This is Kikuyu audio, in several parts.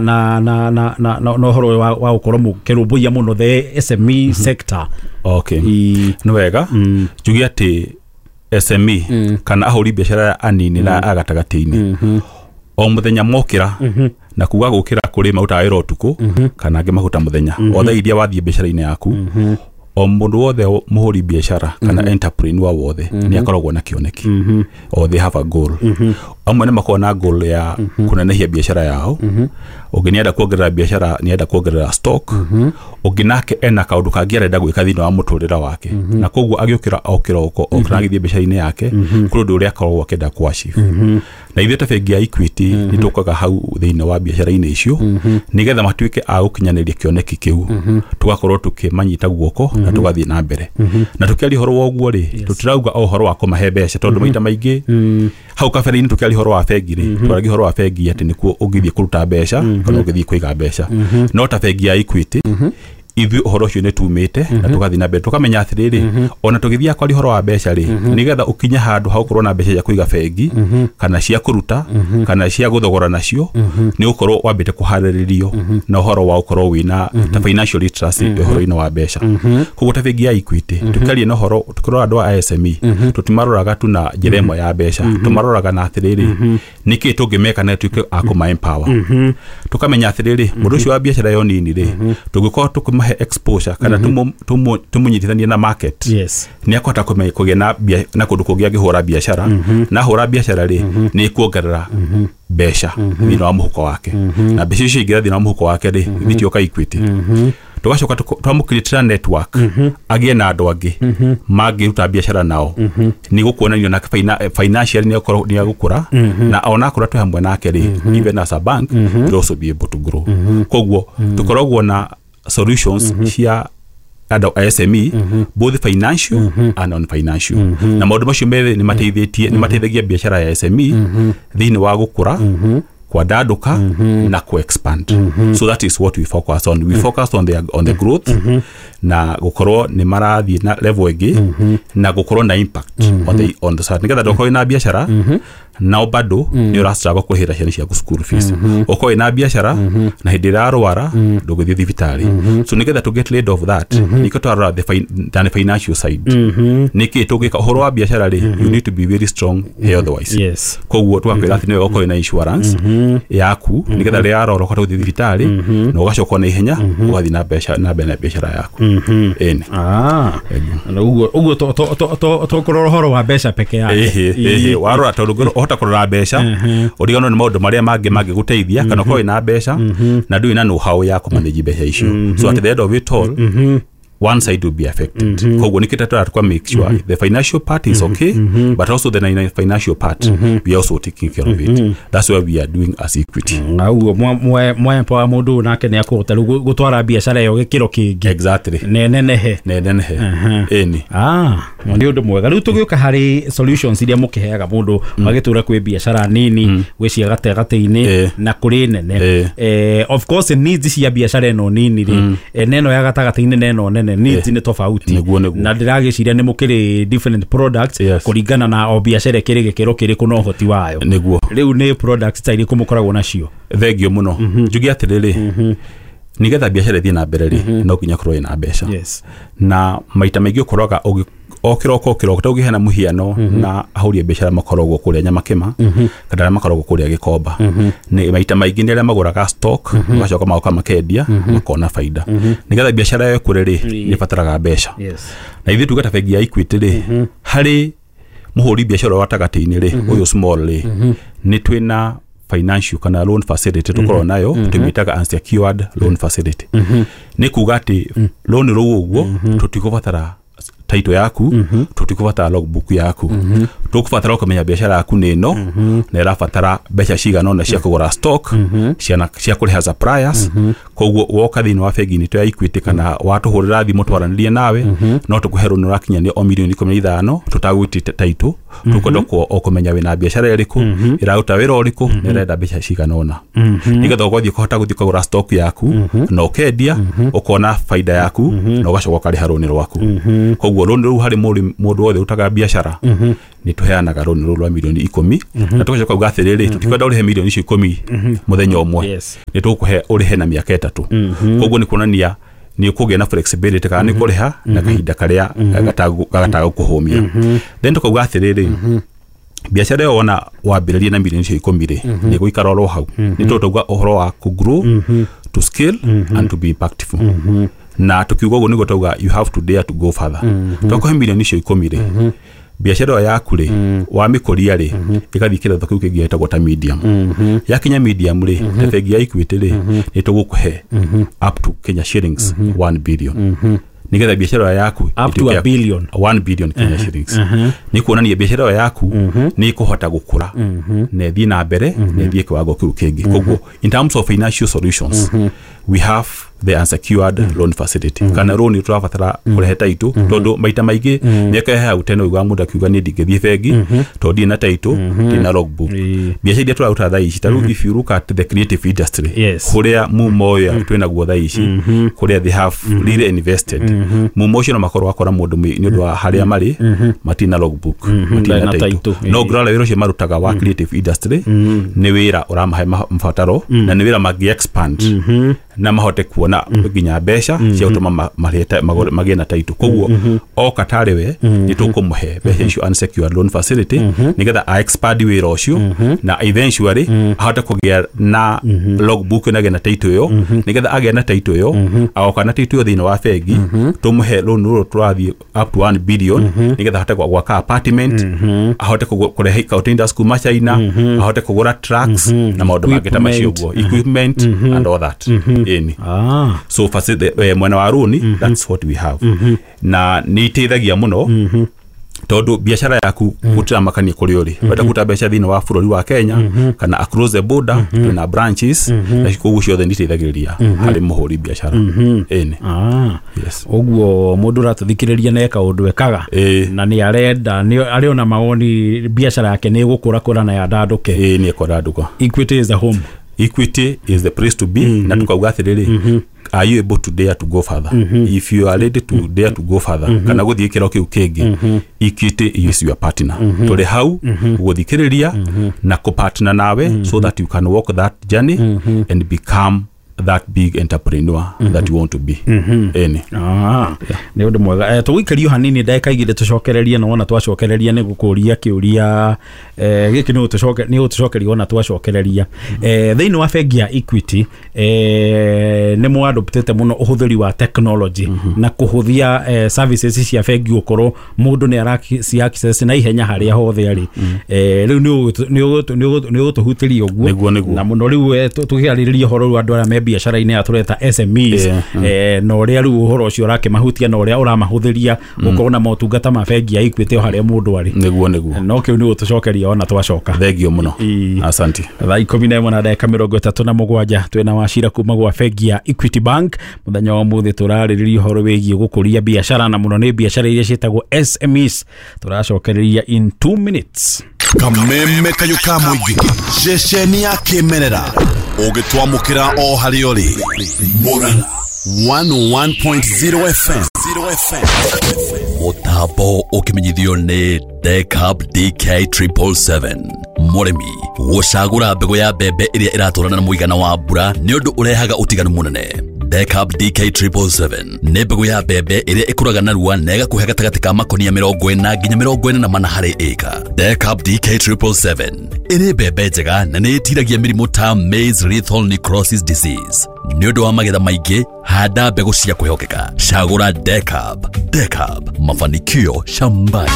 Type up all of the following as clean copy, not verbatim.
na ũhoro ũyũ wa gũkorwo mũkĩrũmbũiya mũno the SME sector? Okay, nĩ wega. Njuge atĩ SME kana ahũri biacara anini na a gatagatĩ-inĩ, o mũthenya mokĩra, na kuga gũkĩra kũrĩ marutaga wĩra ũtukũ kana angĩ mahuta mũthenya, o thaa iria wathiĩ biacara-inĩ yaku, o mũndũ wothe mũhũri biacara kana entrepreneur wothe nĩ akoragwo na kĩoneki, or they have a goal. Amwe nĩ makoragwo na goal ya kũnenehia biacara yao, ũngĩ nĩ enda kuongerera biacara, nĩ enda kuongerera stock, ũngĩ nake ena kaũndũ kangĩ arenda gwĩka thĩinĩ wa mũtũrĩre wake, na koguo agĩũkĩra o kĩroko okĩra agĩthiĩ biacara-inĩ yake, kũrĩ ũndũ ũrĩa akoragwo akĩenda kũ achieve. Na ithuĩ ta bengi ya Equity nĩ tũkaga hau thĩinĩ wa biacara-inĩ icio nĩgetha matuĩke a gũkinyanĩria kĩoneki kĩu, tũgakorwo tũkĩmanyita guoko na tũgathiĩ na mbere. Na tũkĩaria ũhoro wa ũguo rĩ, tũtirauga o ũhoro wa kũmahe mbeca, tondũ maita maingĩ hau kabere-inĩ tũkĩaria ũhoro wa bengi rĩ, twaragia ũhoro wa bengi atĩ nĩkuo ũngĩthiĩ kũruta mbeca kana ũngĩthiĩ kũiga mbeca. No ta bengi ya Equity, ithuĩ ũhoro ũcio nĩ tumĩte na tũgathiĩ na mbere, tũkamenya atĩrĩrĩ, ona tũgĩthiaga kwaria ũhoro wa mbeca rĩ, nĩgetha ũkinye handũ ha gũkorwo na mbeca cia kũiga bengi kana cia kũruta kana cia gũthogora nacio, nĩ ũkorwo wambĩte kũharĩrĩrio na ũhoro wa ũkorwo wĩna ta financial literacy ũhoro-inĩ wa mbeca. Koguo ta bengi ya Equity, tũkĩaria na ũhoro, tũkĩrora andũ a SME, tũtimaroraga tu na njĩra ĩmwe ya mbeca, tũmaroraga na atĩrĩrĩ, nĩkĩ tũngĩmeka na tuĩke a kũma empower. Tũkamenya atĩrĩrĩ, mũndũ ũcio wa biacara yo nini rĩ, tũngĩkorwo tũkĩmahe exposure kana tũmũnyitithanie na market, nĩ akũhota kũgĩa na kũndũ kũngĩ angĩhũra biacara, na ahũra biacara rĩ, nĩ ĩkuongerera mbeca thĩinĩ wa mũhuko wake, na mbeca icio ingĩra thĩinĩ wa mũhuko wake rĩ, itioka Equity. Tũgacoka twamũcreatĩra network, agĩe na andũ angĩ mangĩruta biacara nao, nĩ gũkuonanio nake financially nĩ nĩ agũkũra, na ona akũra twĩ hamwe nake rĩ, even as a bank will also be able to grow. Koguo tũkoragwo na solutions cia andũ a SME, both financial and non financial, na maũndũ macio merĩ nĩ mateithĩtie, nĩ mateithagia biacara ya SME thĩinĩ wa gũkũra, kwandandũka na ku-expand. So that is what we focus on. We focus on the growth na gũkorwo nĩ marathiĩ na level ĩngĩ na gũkorwo na impact on the side, nĩgetha ndũkorwo na biacara nao bado nĩ ũrastruggle kũrĩhĩra ciana ciaku school fees, ũkorwo wĩna biacara na hĩndĩ ĩrĩa arwara ndũngĩthiĩ thibitarĩ. So nĩgetha to get rid of that, nĩkĩo twarora the financial side, nĩkĩ tũngĩka. Ũhoro wa biacara rĩ, you need to be very strong health wise. Koguo tũgakwĩra atĩ nĩ wega ũkorwo na insurance yaku, nĩgetha rĩrĩa arora ũhote gũthiĩ thibitarĩ na ũgacoka na ihenya ũgathiĩ na mbeca na mbere na biacara yaku. Ĩni. Ah, na ũguo to kũrora ũhoro wa mbeca peke yake. Ĩhĩ, warora, tondũ ũhota kũrora mbeca ũriganwo nĩ maũndũ marĩa mangĩ mangĩgũteithia, kana ũkorwo wĩna mbeca na ndũrĩ na know-how ya kũmanage mbeca icio. So at the end of it all, one side will be affected. Koguo nĩkĩo tũratũka make sure the financial part is okay, but also the financial part, we are also taking care of it. That's what we are doing as Equity. Na ũguo mwa mũndũ ũyũ nake nĩ akũhota rĩu gũtwara biacara ĩyo gĩkĩro kĩngĩ. Exactly. Nenenehe. Nenenehe, ĩni. Ah, nĩ ũndũ mwega. Rĩu tũgĩũka harĩ solutions iria mũkĩheaga mũndũ magĩtũra, kwĩ biacara nini, gwĩ cia gatagatĩ-inĩ na kũrĩ nene. Of course needs cia biacara ĩno nini rĩ, na ĩno ya gatagatĩ-inĩ na ĩno nene, needs nĩ tofauti. Nĩguo. Na ndĩragĩciria nĩ mũkĩrĩ different products kũringana na o biacara ĩkĩrĩ gĩkĩro kĩrĩkũ na ũhoti wayo. Nĩguo. Rĩu nĩ products ta irĩkũ mũkoragwo nacio? Thengio mũno. Njuge atĩrĩrĩ, nĩgetha biacara ĩthiĩ na mbere rĩ, no nginya ũkorwo ĩna mbeca. Na maita maingĩ ũkoraga o kĩroko o kĩroko, ta ũngĩheana mũhiano na ahũri a biacara makoragwo kũrĩa Nyamakĩma kana arĩa makoragwo kũrĩa Gĩkomba, nĩ maita maingĩ nĩ arĩa magũraga stock, magacoka magoka makendia makona baida. Nĩgetha biacara ĩyo ĩkũre rĩ, nĩ ĩbataraga mbeca. Na ithuĩ tuge ta bengi ya Equity rĩ, harĩ mũhũri biacara wa gatagatĩ-inĩ rĩ, ũyũ small rĩ, nĩ twĩna financial kana loan facility tũkoragwo nayo, tũmĩtaga unsecured loan facility. Nĩ kuga atĩ loan rũu ũguo tũtikũbatara title yaku, tũtikũbatara logbook yaku, tũkũbatara ũkamenya biacara yaku nĩ ĩno na ĩrabatara mbeca cigana ũna cia kũgũra stock, cia kũrĩha suppliers. Koguo woka thĩinĩ wa bengi itũ ya Equity kana watũhũrĩra thimũ twaranĩrie nawe, no tũkũhe rũni ũrakinyania o mirioni 15 tũtagwĩtĩte title. Tũkwenda o kũmenya wĩna biacara ĩrĩkũ, ĩraruta wĩra ũrĩkũ na ĩrenda mbeca cigana ũna, nĩgetha ũgathiĩ ũkahota gũthiĩ ũkagũra stock yaku na ũkendia, ũkona baida yaku na ũgacoka ũkarĩha rũni rwaku. Koguo Koguo loan rũu harĩ mũndũ wothe ũrutaga biacara nĩ tũheanaga loan rũu rwa mirioni 10 na tũgacoka kuga atĩrĩrĩ, tũtikwenda ũrĩhe mirioni icio 10 mũthenya ũmwe, nĩ tũgũkũhe ũrĩhe na mĩaka 3. Koguo nĩ kuonania nĩ ũkũgĩa na flexibility kana nĩ kũrĩha na kahinda karĩa gatagũkũhũmia. Then tũkauga atĩrĩrĩ, biacara ĩyo wona wambĩrĩria na mirioni icio 10 rĩ, nĩ gũikara oro hau. Nĩ tũtauga ũhoro wa kũ grow, to scale and to be impactful. Na tukiuga ũguo nĩguo tauga you have to dare to go further. Twakũhe mirioni icio 10 rĩ, biacara ĩyo yaku rĩ, wamĩkũria rĩ, ĩgathiĩ kĩratho kĩu kĩngĩ gĩtagwo ta medium. Yakinya medium rĩ, ta bengi ya Equity rĩ, nĩ tũgũkũhe up to Kenya shillings 1 billion. Nĩgetha biacara ĩyo yaku up to a billion, 1 billion Kenya shillings. Nĩ kuonania biacara ĩyo yaku nĩ ĩkũhota gũkũra na ĩthiĩ na mbere na ĩthiĩ kiwango kĩu kĩngĩ. Koguo in terms of financial solutions, we have the unsecured loan facility. Kana loan tũrabatara kũrehe title, tondũ maita maingĩ mĩaka ya hau tene ũiguaga mũndũ akiuga niĩ ndingĩthiĩ bengi tondũ ndirĩ na title, ndirĩ na logbook. Biacara iria tũraruta thaa ici, ta rĩu if you look at the creative industry, kũrĩa mumo ũyũ twĩnaguo thaa ici, kũrĩa they have really invested, mumo ũcio no makorwo wakora mũndũ nĩ ũndũ wa harĩa marĩ matirĩ na logbook, matirĩ na title. No ngũrora wĩra ũcio marutaga wa creative industry nĩ wĩra ũramahe mabataro na nĩ wĩra mangĩ expand na mahote kuona nginya mbeca cia gũtũma magĩe na title. Koguo oka tarĩ we nĩ tũkũmũhe mbeca icio unsecured loan facility nĩgetha a expand wĩra ũcio na eventually ahote kũgĩa na logbook na agĩe na title ĩyo, nĩgetha agĩe na title ĩyo agoka na title ĩyo thĩinĩ wa bengi tũmũhe loan rũrũ tũrathiĩ up to 1 billion nĩgetha ahote gwaka apartment, ahote kũrehe containers kuma China, ahote kũgũra trucks na maũndũ mangĩ ta macio ũguo, equipment and all that. So mwena wa rũni, that's what we have. Na nĩ iteithagia mũno tondũ biacara yaku gũtiramakania kũrĩa ũrĩ, wenda kũruta mbeca thĩinĩ wa bũrũri wa Kenya kana across the border, twĩna branches na koguo ciothe nĩ iteithagĩrĩria harĩ mũhũri biacara. Ĩni. Yes. Ũguo mũndũ ũratũthikĩrĩria na eka ũndũ ekaga na nĩ arenda nĩ arĩ ona mawoni biacara yake nĩ ĩgũkũra kũra na yandandũke. Ĩĩ, nĩ ĩkũrandũka. Equity is the home. Equity is the place to be. Na tukauga atĩrĩrĩ, are you able to dare to go further? If you are ready to dare to go further, kana gũthiĩ kĩro kĩu kĩngĩ, Equity is your partner. Tũrĩ hau gũthikĩrĩria na kũpartner nawe so that you can walk that journey and become that big entrepreneur that you want to be. Ĩni. Nĩ ũndũ mwega. Tũgũikĩrio hanini ndagĩka igĩrĩ tũcokererie, na wona twacokereria nĩ gũkũria kĩũria gĩkĩ nĩ ũtũcokeria wona twacokereria. Thĩinĩ wa bengi ya Equity nĩ mwadoptete mũno ũhũthĩri wa technology na kũhũthia services cia bengi gũkorwo mũndũ nĩ araci access na ihenya harĩa hothe arĩ. Rĩu nĩ ũgũtũhutĩria ũguo na mũno rĩu tũkĩarĩrĩria ũhoro rĩu andũ arĩa me biacara-inĩ ya tũreta SMEs, na ũrĩa rĩu ũhoro ũcio ũrakĩmahutia na ũrĩa ũramahũthĩria gũkorwo na motungata ma bengi ya Equity o harĩa mũndũ arĩ. Nĩguo. No kĩu nĩ ũtũcokeria ona twacoka. Thengio mũno. Asante. Thaa 11 na ndagĩka 37 twĩna Wachira kuma gwa bengi ya Equity Bank. Mũthenya wa ũmũthĩ tũrarĩrĩria ũhoro wĩgiĩ gũkũria biacara na mũno nĩ biacara iria ciĩtagwo SMEs. Tũracokereria in 2 minutes. Kameme kayũ ka mũingĩ ceceni ya kĩmerera ũgĩtwamũkĩra o harĩa ũrĩ. Murang'a 101.0 FM. Mũtambo ũkĩmenyithio nĩ Decab DK777. Mũrĩmi gũcagũra mbegũ ya mbembe ĩrĩa ĩratwarana na mũigana wa mbura nĩ ũndũ ũrehaga ũtiganu mũnene. Decab DK777 nĩ mbegũ ya mbembe ĩrĩa ĩkũraga narua na ĩgakũhe gatagatĩ ka makonia 40 nginya 44 harĩ ĩka. Decab DK777 ĩrĩ mbembe njega na nĩ ĩtiragia mĩrimũ ta maize lethal necrosis disease. Nĩ ũndũ wa magetha maingĩ, handa mbegũ cia kwĩhokeka. Cagũra Decab. Decab, mafanikio shambani.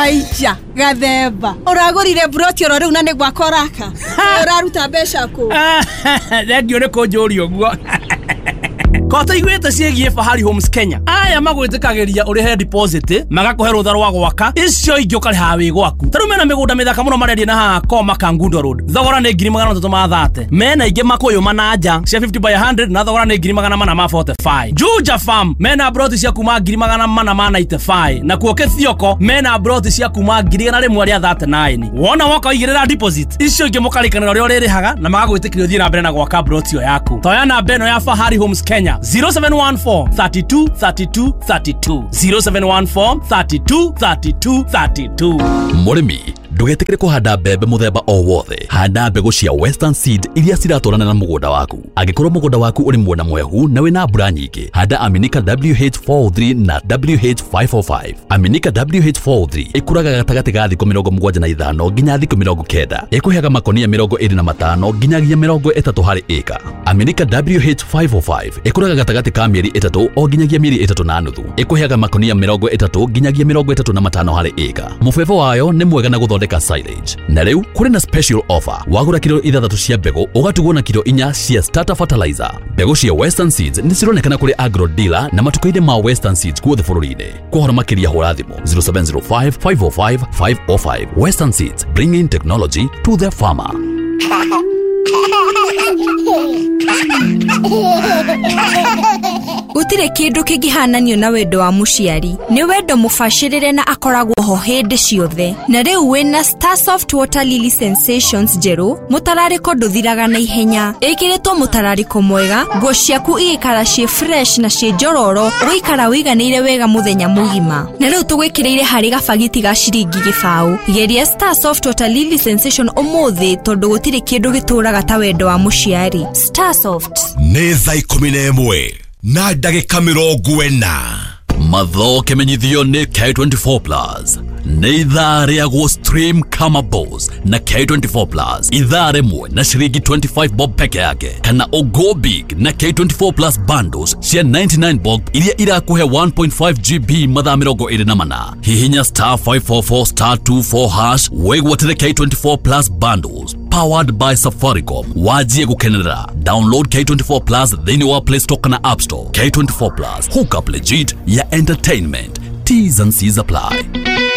Aija gathemba ũragũrire broti oro rĩu na nĩ gwakwa ũraka ũraruta mbeca kũ? Thengiũ nĩ kũnjũria ũguo. Kotaiguĩte ciĩgiĩ Fahari Homes Kenya. Aya magwĩtĩkagĩria ũrĩhe deposit, magakũhe rũtha rwa gwaka, icio ingĩ ũkarĩha wĩ gwaku. Ta rĩu mena mĩgũnda mĩthaka mũno marendia na haha Koma Kangundo Road. Thogora nĩ 330,000. Mena ingĩ Makũyũ Mananja cia 50 by 100 na thogora nĩ 445. Juja Farm mena broti cia kuma 495 na kuo Kĩthioko mena broti cia kuma 139. Wona woka ũigĩrĩra deposit, icio ingĩ mũkarĩkanĩra ũrĩa ũrĩrĩhaga na magagwĩtĩkĩria ũthiĩ na mbere na gwaka broti ĩyo yaku. Toya namba ĩno ya Fahari Homes Kenya 0714 32 32 32 0714 32 32 32. Mũrĩmi ndũgetĩkĩre kũhanda mbembe mũthemba o wothe. Handa mbegũ cia Western Seed iria ciratwarana na mũgũnda waku. Angĩkorwo mũgũnda waku ũrĩ mwena mwehu na wĩna mbura nyingĩ, handa Aminika WH403 na WH545. Aminika WH403 ĩkũraga gatagatĩ ga thikũ 75 nginya thikũ 90. Ĩkũheaga makonia 25 nginyagia 30 harĩ ĩka. Aminika WH545 ĩkũraga gatagatĩ ka mĩeri 3 o nginyagia mĩeri 3.5. Ĩkũheaga makonia 30 nginyagia 35 harĩ ĩka. Mũbebo wayo nĩ mwega na gũthondeka silage. Na rĩu kũrĩ na special offer. Wagũra kilo 6 cia mbegũ ũgatugwo na kilo 4 cia starter fertilizer. Mbegũ cia Western Seeds nĩ cironekana kũrĩ agro dealer na matuka-inĩ ma Western Seeds guothe bũrũri-inĩ. Kwa ũhoro makĩria hũra thimũ 0705 505 505. Western Seeds, bringing technology to the farmer. Gũtirĩ kĩndũ kĩngĩhananio na wendo wa mũciari. Nĩ wendo mũbacĩrĩre na akoragwo ho hĩndĩ ciothe. Na rĩu wĩna Starsoft Water Lily Sensations njerũ, mũtararĩko ndũthiraga na ihenya. Ĩkĩrĩtwo mũtararĩko mwega, nguo ciaku igĩikara ciĩ fresh na ciĩ njororo, ũgaikara wĩiganĩire wega mũthenya mũgima. Na rĩu tũgwĩkĩrĩire harĩ gabagiti ga ciringi 0. Geria Starsoft Water Lily Sensation ũmũthĩ tondũ gũtirĩ kĩndũ gĩtũraga ta wendo wa mũciari. Starsoft. Nĩ thaa 11 na ndagĩka 40. Matho kĩmenyithio nĩ K24 Plus. Nĩ ithaa rĩa stream kama boss na K24 Plus. Ithaa rĩmwe na ciringi 25 bob peke yake, kana go big na K24 Plus bundles cia 99 bob iria irakũhe 1.5 GB mathaa 24. Hihinya star 544 star 24 hash wĩgwatĩre K24 Plus bundles powered by Safaricom. Wajie gukenerera. Download K24 Plus thĩinĩ wa Play Store kana App Store. K24 Plus, hook up legit ya entertainment. T's and C's apply.